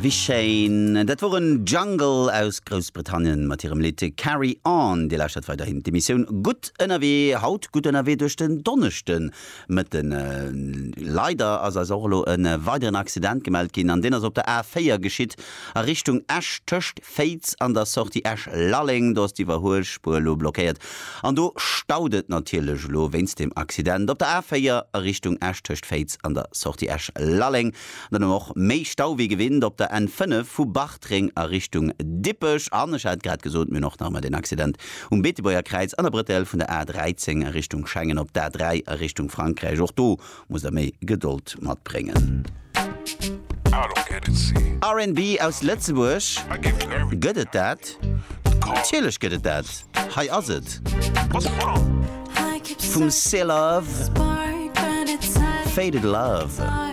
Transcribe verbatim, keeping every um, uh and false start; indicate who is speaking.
Speaker 1: Wéi schéin. Dat woren Jungle aus Groussbritannien mat hirem Lidd Carry On. Dir lauschtert weiderhin d'Emissioun Gutt ënnerwee. Haut gutt ënnerwee duerch den Donneschdemëtten. Leider ass eis och elo e weideren Accident gemellt ginn an deen ass op der A véier geschitt a Richtung Esch tëscht Féiz an der Sortie Esch-Lalleng. Do ass d'Iwwerhuelspuer elo blockéiert an do staut et natierlech elo wéinst dem Accident op der A véier a Richtung Esch tëscht Féiz an der Sortie Esch-Lalleng. Dann och méi Stau wéi gewinnt op der N fënnef vu Bartreng a Richtung Dippech an ech hat grad gesot, mir hunn och nach ëmmer den Accident um Beetebuerger Kräiz an der Bretelle vun der A dräizéng a Richtung Schengen op der A dräi a Richtung Frankräich. Och do musst der méi Gedold matbréngen. R and B aus Lëtzebuerg, gëtt et dat? Natierlech gëtt et dat. Hei ass et. Vum Celove, Faded Love.